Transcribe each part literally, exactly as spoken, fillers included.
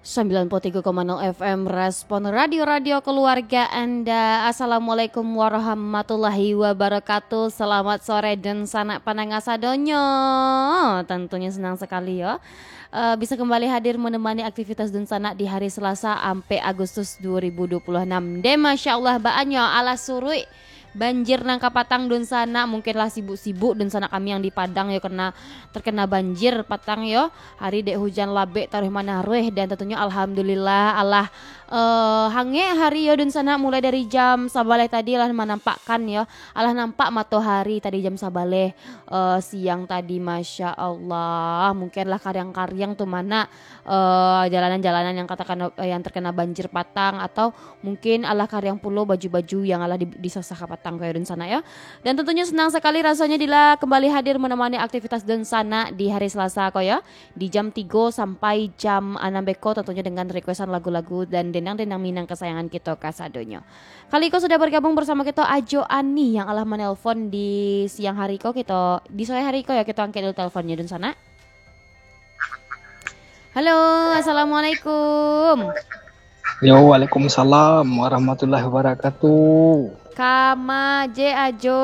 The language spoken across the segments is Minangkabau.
Sembilan puluh tiga koma nol F M Respon Radio, radio keluarga Anda. Assalamualaikum warahmatullahi wabarakatuh. Selamat sore dunsanak pandanga sadonyo. Tentunya senang sekali yo. Eh, bisa kembali hadir menemani aktivitas dunsanak di hari Selasa ampek Agustus dua ribu dua puluh enam. Deh, Masya Allah, baanyo alah suruik banjir nan ka patang dunsanak, mungkin lah sibuk-sibuk dunsanak kami yang di Padang yo, kena, terkena banjir patang yo. Hari dek hujan labek taruih manaruih, dan tentunya alhamdulillah alah, eh, hangek hari yo dunsanak, mulai dari jam sabaleh tadi lah manampakkan yo, alah nampak matohari tadi jam sabaleh, eh, siang tadi, Masya Allah. Mungkin lah kariang-kariang tu mana, eh, jalanan-jalanan yang katakan, eh, yang terkena banjir patang, atau mungkin alah kariang pulo baju-baju yang alah di, disasah ka patang ko yo dunsanak yo. Dan tentunya senang sekali rasanya Dila kembali hadir menemani aktivitas dunsanak di hari Selasa ko yo, di jam tigo sampai jam anam beko, tentunya dengan requestan lagu-lagu dan dendang-dendang Minang kesayangan kito kasadonyo. Kali ko sudah bergabung bersama kito Ajo Ani yang alah menelpon di siang hari ko, kito, di sore hari ko yo, kito angkek dulu teleponnya dunsanak. Halo, assalamualaikum. Yo, waalaikumsalam warahmatullahi wabarakatuh. Kama je Ajo.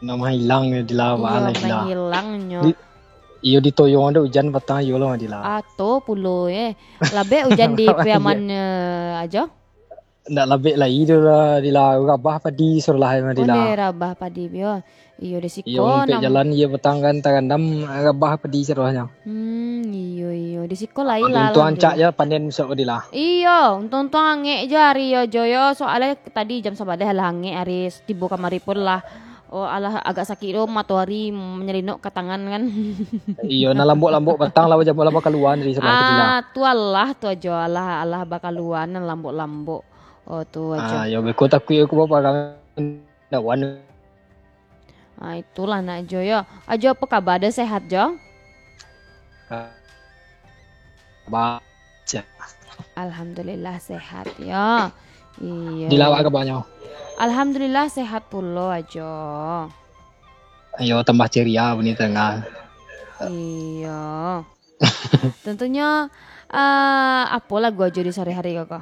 Namo hilang yo Dila, iyo, baa lah Dila. Hilangnyo. Di, iyo ditoyong ado ujan patang iyo lah Dila. Ato pulo eh. Labek ujan di Piaman, eh, Ajo. Ndak labek lai tu lah, Dila. Rabah padi suruh lah, Dila. Onde rabah padi, yo. Iyo, di siko. Iyo, umpek nang jalan, iyo, patang kan tarandam, rabah padi suruh nyo. Hmm, iyo, iyo. Di siko lai lah, untuang ancak je panen besok ko, Dila. Iyo, untuang-untuang angek je hari yo, Jo, yo. Soalnyo tadi jam sabaleh lah angek hari, tibo kamari pun lah. Oh, alah agak sakik tu, matoari manyalinok ka tangan kan. Iyo, nah lambok-lambok patang lah, jam lah bakaluan dari suruh, Dila. Ah, tu alah tu Ajo, alah, alah bakaluan nan lambok-lambok. Oh, tu Ajo. Ah, yo, beko takuik aku baparang dawan. Ah, itulah nak Ajo yo. Ajo, apo kaba, ado sehat Jo? Kaba sehat. Alhamdulillah sehat yo. Iyo. Dila, apo kabanyo? Alhamdulillah sehat pulo Ajo. Iyo, tambah ceria bunyi tengah. Iyo. Tentunyo, eh, apo lagu Ajo di sore hari ko?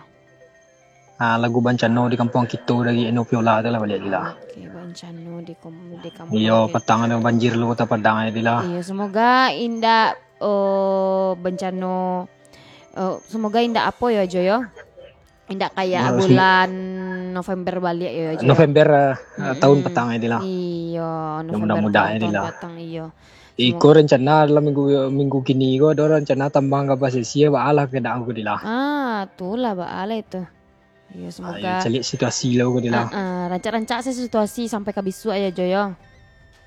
Ah, lagu Bancano di Kampuang Kito dari Eno Piola tu lah baliak Dila. Oke, Bancano di kom-, di Kampuang Kito. Iyo, patang ado banjir lo Kota Padang yo, Dila. Iyo, semoga indak, oh, bancano, oh, semoga indak apo yo, Ajo yo. Indak kayak bulan November baliak yo, Ajo. November, eh, tahun patang yo, Dila. Iyo, November mudah-mudahan tahun, yo, Dila. Tahun patang, iyo. Iko rencana dalam minggu, minggu kini ko ado rencana tambah ka basisia, baa lah keadaan ko, Dila. Ah, tu lah baa lah itu. Iyo, semoga. Ayo, caliak situasi lah ko, Dila. Ah, ah, rancak-rancak se situasi sampai ka bisuak yo, Jo yo.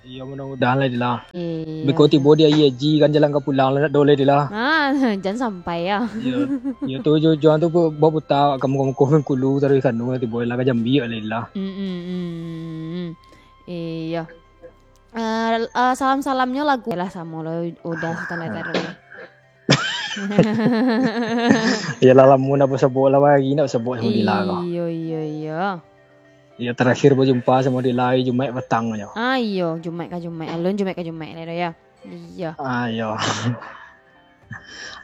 Iyo, mudah-mudahan lah, Dila. Iyo. Beko tibo di Aia Haji kan jalan ka pulang lah, ndak doleh, Dila. Ah, jan sampai yo. Iyo, iyo tu jo-, jo tu baputa ka muko-muko Bengkulu taruih ka anu, tibo lah ka Jambi lah, Dila. Hmm, hmm, hmm, hmm. Iyo. Eh, eh, salam-salamnyo lagu lah samo lo, udah Sultan Letter. Iyolah, lamo ndak basabok lah, hari ndak basabok samo Dila ko. Iyo, iyo, iyo. Iyo, terakhir bajumpa samo Dila hari Jumaik patang nyo. Ah, iyo, Jumaik ka Jumaik. Alun Jumaik ka Jumaik lai doh, yo. Iyo. Ah, iyo.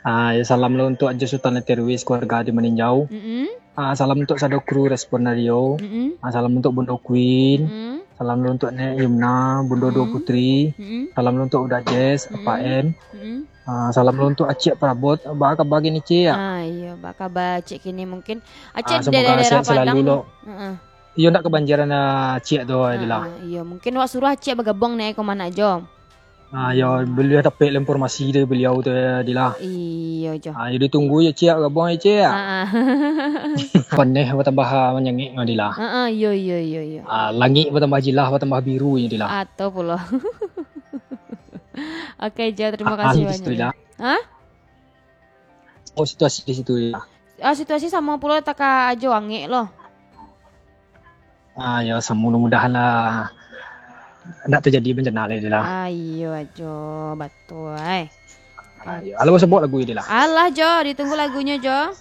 Ah, yo, salam lo untuk Ajo Sultan Letter Wis, keluarga di Maninjau. Mm-mm. Ah, salam untuk sado kru Respon Radio. Mm-mm. Ah, salam untuk Bundo Queen. Mm-mm. Salam lo untuk Nek Yumna, Bundo Duo Mm-mm. Putri. Mm-mm. Salam lo untuk Uda Jess, Apa Mm-mm. M. Mm-mm. Ah, salam lo untuk Acik Prabot. Baa kaba kini, Cik? Ah, iyo, baa kaba Cik kini mungkin. Acik Ah, di semoga daerah sehat Padang selalu lo. Heeh. Iyo, ndak kabanjiran, ah, Cik tu, Dila. Ah, iyo, mungkin wak suruah Acik bagabuang neh ko manak Jo. Ah, yo, baliau dapek lah informasi dari baliau tu, Dila. Iyo, Jo. Ah, yo, ditunggu yo, Cik, gabuang yo, Cik. Ah, ah. Paneh batambah, ah, manyangik nyo, Dila. Ah, ah, iyo, iyo, iyo, iyo. Ah, langik batambah jilah, batambah biru nyo, Dila. Ato pulo. Oke, Jo, terima Ah, kasih ah, banyak, Dila. Hah? Oh, situasi di situ, Dila. Ah, situasi samo pulo taka Ajo angek lo. Ah, yo, samo mudah-mudahan lah ndak terjadi bencana lai, Dila. Ah, iyo, Ajo, batua, eh. Ah, yo. Alah, basabok lagu yo, Dila. Alah, Jo, ditunggu lagunyo, Jo.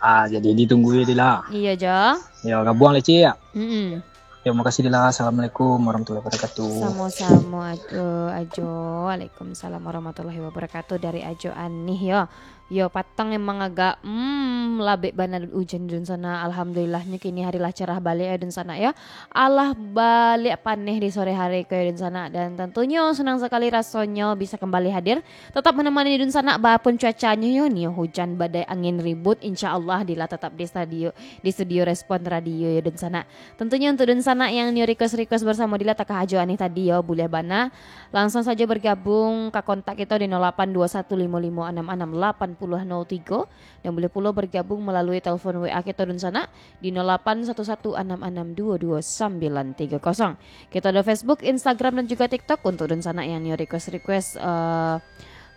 Ah, jadi ditunggu yo, Dila. Iyo, Jo. Yo, gabuang lah, Cik, yo. Mm-mm. Yo, makasih, Dila. Assalamualaikum warahmatullahi wabarakatuh. Samo-samo, Ajo, Ajo. Waalaikumsalam warahmatullahi wabarakatuh. Dari Ajo Anih, yo. Yo, patang emang agak, hmm, labek bana ujan dunsanak. Alhamdulillahnyo kini hari lah cerah baliak yo dunsanak yo. Alah baliak paneh di sore hari ko yo dunsanak. Dan tentunyo senang sakali rasonyo bisa kembali hadir. Tetap menemani dunsanak, bapun cuacanyo yo nio hujan, badai, angin, ribut. Insya Allah Dila tetap di studio, di studio Respon Radio yo dunsanak. Tentunyo untuk dunsanak yang nio request-request bersamo Dila takah Ajo Anih tadi yo, buliah bana. Langsung sajo bergabung ka kontak kito di nol lapan dua satu limo limo anam anam lapan puluh nol tigo, dan buliah pulo bergabung melalui telepon W A kito dunsanak di nol lapan satu satu anam anam dua dua sambilan tiga kosong. Kito ado Facebook, Instagram, dan juga TikTok untuk dunsanak yang nio request-request, eh,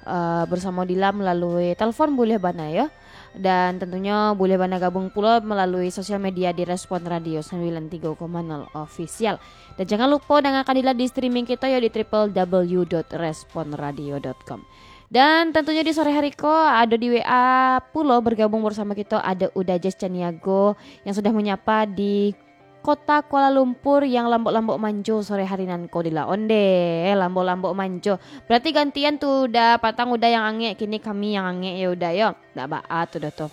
eh, bersamo Dila melalui telepon buliah bana yo. Dan tentunyo buliah bana gabung pulo melalui sosial media di Respon Radio sembilan tiga koma nol Official. Dan jangan lupo dangakan Dila di streaming kito yo di triple W dot respon radio dot com. Dan tentunyo di sore hari ko ado di W A pulo bergabung bersamo kito, ado Uda Jess Caniago yang sudah menyapa di kota Kuala Lumpur yang lambok-lambok manjo sore hari nan ko Dila. Onde, lambok-lambok manjo. Berarti gantian tu Uda, patang Uda yang angek, kini kami yang angek yo Uda yo. Ndak baa tu doh tu.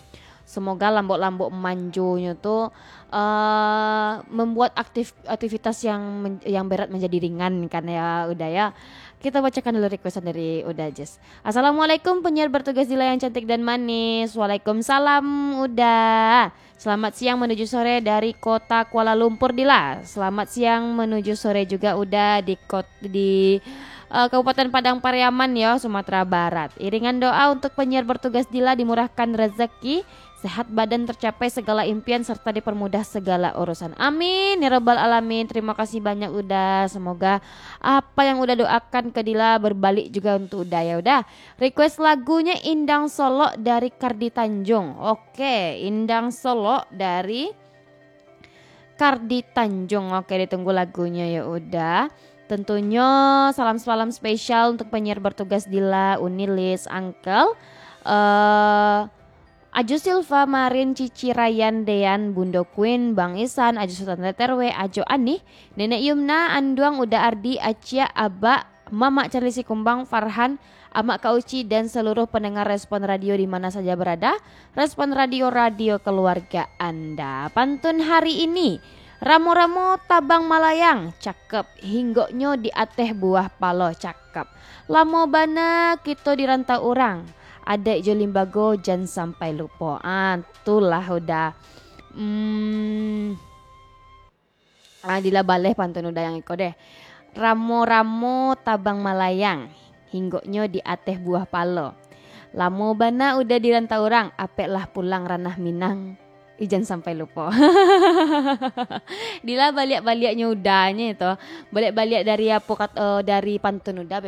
Semoga lambok-lambok manjonyo tu, eh, membuat aktif-, aktivitas yang men-, yang berat menjadi ringan kan ya Uda ya. Kita bacakan dulu requestan dari Uda Jess. Assalamualaikum penyiar bertugas Dila yang cantik dan manis. Waalaikumsalam Uda. Selamat siang menuju sore dari kota Kuala Lumpur, Dila. Selamat siang menuju sore juga Uda di kot-, di, eh, Kabupaten Padang Pariaman yo, Sumatera Barat. Iringan doa untuk penyiar bertugas Dila dimurahkan rezeki, sehat badan, tercapai segala impian, serta dipermudah segala urusan. Amin ya rabbal alamin. Terima kasih banyak Uda. Semoga apa yang Uda doakan ke Dila berbalik juga untuk Uda ya Uda. Request lagunyo Indang Solok dari Kardi Tanjung. Oke, Indang Solok dari Kardi Tanjung. Oke, ditunggu lagunyo ya Uda. Tentunyo salam-salam spesial untuk penyiar bertugas Dila, Uni Liz, Uncle, eh, Aju Silva, Marin, Cici, Rayan, Dean, Bundo Queen, Bang Isan, Aju Sultan T T R W, Ajo Anih, Nenek Yumna, Anduang, Uda Ardi, Aciak, Abak, Mamak Charlie Sikumbang, Farhan, Amak Kak Uci, dan seluruh pendengar Respon Radio di mana saja berada. Respon Radio, radio keluarga Anda. Pantun hari ini, ramo-ramo tabang malayang, cakep, hinggoknyo di ateh buah palo, cakep. Lamo bana kito di rantau urang, adaik jo limbago jan sampai lupo. Ah, tulah Uda. Hmm. Ah, Dila baleh pantun Uda yang iko deh. Ramo-ramo tabang malayang, hinggoknyo di ateh buah palo. Lamo bana Uda di rantau urang, apek lah pulang ranah Minang. Ih, jan sampai lupo. Dila baliak-baliaknyo Udanyo itu. Baliak-baliak dari apo kat-, eh, dari pantun Uda,